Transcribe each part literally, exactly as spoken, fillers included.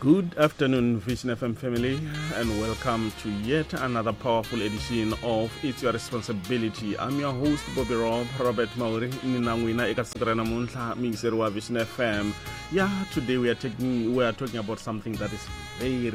Good afternoon, Vision F M family, and welcome to yet another powerful edition of It's Your Responsibility. I'm your host, Bobby Rob, Robert Mauri, ni na n'wina eka siku ra namuntlha, muyingiseri wa Vision F M. Yeah, today we are taking, we are talking about something that is very,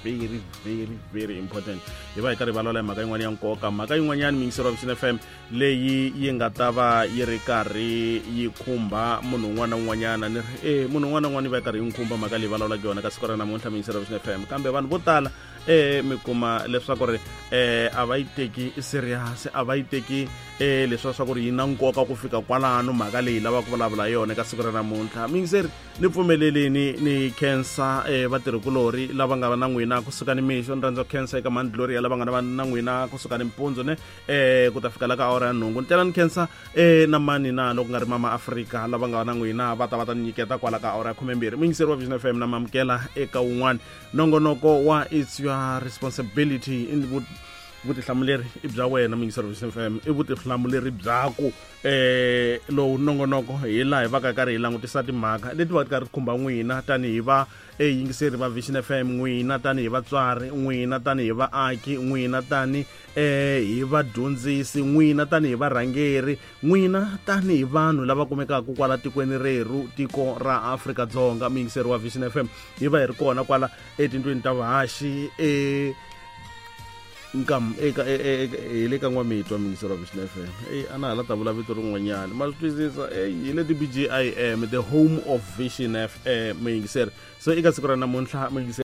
very, very, very important. Hi va hi karhi hi vulavula hi mhaka yin'wana ya nkoka, mhaka yin'wanyana muyingiseri wa Vision F M leyi yi nga ta va yi ri karhi yi khumba munhu un'wana na un'wanyana. Ni ri, eh, munhu un'wana na un'wana yi va yi karhi yi n'wi khumba mhaka leyi vulavulaka yona ka siku ra namuntlha muyingiseri wa Vision F M. Kambe vanhu vo tala eh mi kuma leswaku ri eh a va yi teki serious, a va yi teki eh leswi swa ku ri yi na nkoka ku fika kwalano mhaka leyi lavaka ku vulavula yona eka siku ra namuntlha. Muyingiseri, ni pfumeleleni ni khensa eh vatirhikulori lava nga na n'wina kusuka ni mixo. Ni rhandza ku khensa eka Mani Gloria lava nga na na n'wina kusuka ni mpundzu ne eh ku ta fika la ka awara ya nhungu. Ni tlhela ni khensa eh na mani na loko nga ri Mama Afrika lava nga na n'wina va ta va ta ni nyiketa kwala ka awara ya khumembirhi. Muyingiseri wa Vision F M na mamukela eka wun'wana nongonoko wa It's Your Responsibility. In vutihlamuleri i bya wena muyingiseri wa Vision F M, i vutihlamuleri byaku eh lowu nongonoko hi laha hi va ka karhi hi langutisa timhaka leti va karhi khumba n'wina tanihi va eyingiseri va Vision F M, n'wina tanihi vatswari, n'wina tanihi vaaki, n'wina tani eh hi vadyondzisi, n'wina tanihi varhangeri, n'wina tanihi vanhu lava kumekaka kwala tikweni rerhu, tiko ra Afrika-Dzonga. Muyingiseri wa Vision F M, hi va hi ri kona kwala etindlwini ta vahaxi eh nkam eka hi le ka N'wamitwa muyingiseri wa Vision F M. Ey a na ha la ta vula vito rin'wanyana, ma swi twisisa. Ey hi le T B G I M, the home of Vision F M muyingiseri. So eka siku ra namuntlha muyingiseri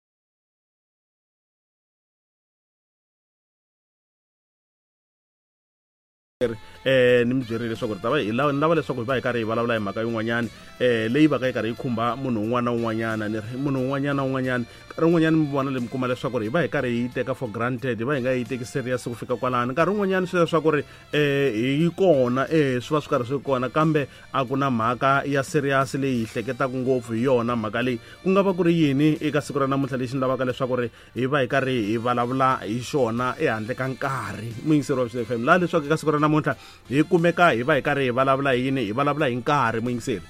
eh ni mi byerile leswaku ri ta va hi lava, ni lava leswaku hi va hi karhi hi vulavula hi mhaka yin'wanyana eh leyi va ka yi karhi yi khumba munhu un'wana na un'wanyana. Ni ri munhu un'wanyana na un'wanyana, nkarhi wun'wanyana mi vona leyi mi kuma leswaku ri hi va hi karhi hi yi teka for granted, hi va hi nga yi teki serious ku fika kwalano. Nkarhi wun'wanyana swi leswaku ri eh hi kona eh swi va swi karhi swi kona, kambe a ku na mhaka ya serious leyi hi hleketaka ngopfu hi yona mhaka leyi. Ku nga va ku ri yini eka siku ra namuntlha lexi ni lavaka leswaku ri hi va hi karhi hi vulavula hi xona ehandle ka nkarhi muyingiseri wa Vision F M? Laha leswaku eka siku ra namuntlha hi kumeka hi va hi karhi hi vulavula hi yini? Hi vulavula hi nkarhi muyingiseri.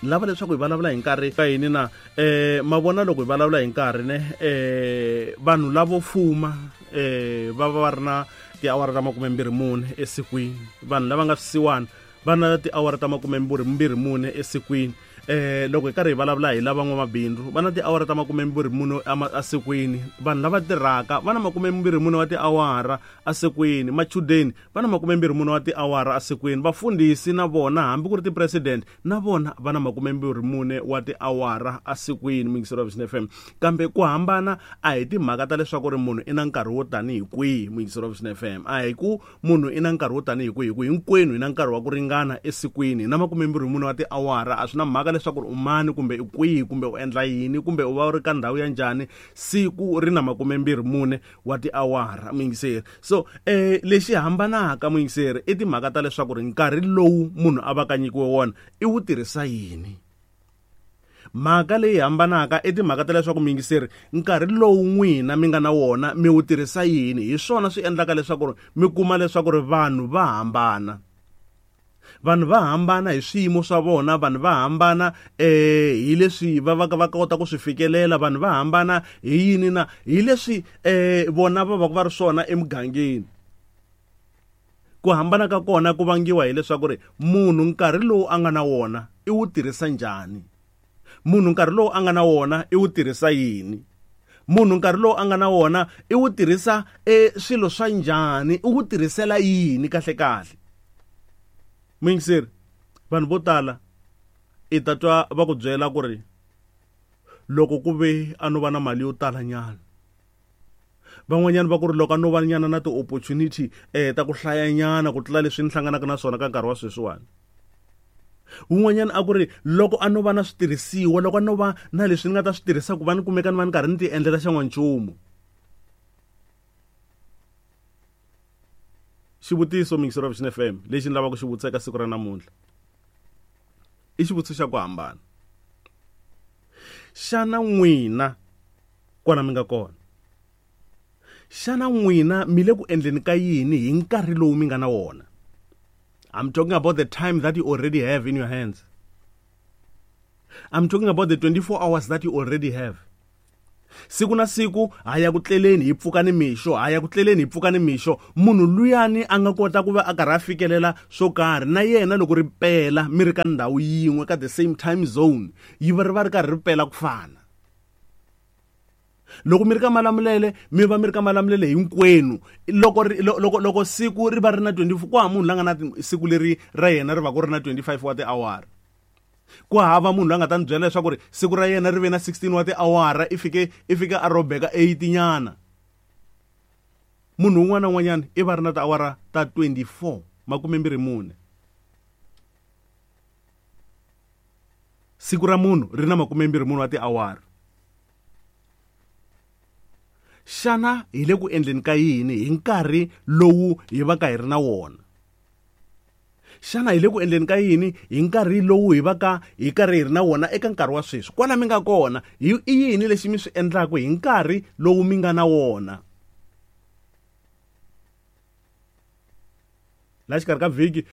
Lava leswaku hi vulavula hi nkarhi ka yini na? Eh ma vona loko hi vulavula hi nkarhi ne eh vanhu lavo fuma eh va va va ri na tiawara ta makume mbirhi mune esikwini, vanhu lava nga swisiwana va na tiawara ta makume mbirhi mune esikwini. Eh loko hi karhi hi vulavula hi lava n'wamabindzu va na tiawara ta makume mbirhi mune esikwini, vanhu lava tirhaka va na makume mbirhi mune wa tiawara esikwini, machudeni va na makume mbirhi mune wa tiawara esikwini, vafundhisi na vona hambi ku ri ti-president na vona va na makume mbirhi mune wa tiawara esikwini muyingiseri wa Vision F M. Kambe ku hambana a hi timhaka ta leswaku ri munhu i na nkarhi wo tanihi kwihi muyingiseri wa Vision F M. A hi ku munhu i na nkarhi wo tanihi kwihi, ku hinkwenu hi na nkarhi wa ku ringana esikwini, hi na makume mbirhi mune wa tiawara. A swi na mhaka leswaku u mani kumbe i kwihi kumbe u endla yini kumbe u va u ri ka ndhawu ya njhani, siku ri na makume mbirhi mune wa tiawara muyingiseri. So eh lexi hambanaka muyingiseri i timhaka ta leswaku ri nkarhi lowu munhu a va ka nyikiwe wona i wu tirhisa yini. Mhaka leyi hambanaka i timhaka ta leswaku muyingiseri nkarhi lowu n'wina mi nga na wona mi wu tirhisa yini. Hi swona swi endlaka leswaku mi kuma leswaku ri vanhu va hambana. Vanhu va hambana hi swiyimo swa vona, vanhu va hambana eh hi leswi va va va kota ku swi fikelela, vanhu va hambana hi yini na hi leswi eh vona va va va ri swona emugangeni. Ku hambana ka kona ku vangiwa hileswaku ri munhu nkarhi lowu a nga na wona i wu tirhisa njhani, munhu nkarhi lowu a nga na wona i wu tirhisa yini, munhu nkarhi lowu a nga na wona i wu tirhisa e swilo swa njhani, i wu tirhisela yini kahle kahle. Muyingiseri, vanhu vo tala i ta twa va ku byela ku ri loko ku ve a no va na mali yo tala nyana, van'wanyana va ku ri loko a no va nyana na ti-opportunity eh ta ku hlayanyana ku tlula leswi ni hlanganaka na swona ka nkarhi wa sweswiwani. Wun'wanyana a ku ri loko a no va na switirhisiwa, loko a no va na leswi ni nga ta swi tirhisa ku va ni kumeka ni va ni karhi ni ti endlela xan'wanchumu. Xivutiso muyingiseri wa Vision F M lexi ni lavaka ku xi vutisa eka siku ra namuntlha i xivutiso xa ku hambana. Xana n'wina kwala mi nga kona, xana n'wina mi le ku endleni ka yini hi nkarhi lowu mi nga na wona? I'm talking about the time that you already have in your hands. I'm talking about the twenty-four hours that you already have. Siku na siku ha ya ku tleleni hi pfuka ni mixo, ha ya ku tleleni hi pfuka ni mixo. Munhu luyani a nga kota ku va a karhi a fikelela swo karhi na yena loko ri pela mi ri ka ndhawu yin'we ka the same time zone, yi va ri va ri karhi ri pela ku fana. Loko mi ri ka Malamulele mi va mi ri ka Malamulele hinkwenu. Loko ri, loko loko siku ri va ri na twenty-four, ku hava munhu la nga na siku leri ra yena ri va ku ri na twenty-five wa tiawara. Ku hava munhu la nga ta ni byela leswaku ri siku ra yena ri ve na sixteen wa tiawara, i fike i fike a robeka eight nyana. Munhu un'wana na un'wanyana i va ri na tiawara ta twenty-four, makume mbirhi mune. Siku ra munhu ri na makume mbirhi mune wa tiawara. Xana hi le ku endleni ka yini hi nkarhi lowu hi va ka hi ri na wona? Xana hi le ku endleni ka yini hi nkarhi lowu hi va ka hi karhi hi ri na wona eka nkarhi wa sweswi? Kwala mi nga kona, i yini lexi mi swi endlaka hi nkarhi lowu mi nga na wona? La xikarhi ka vhiki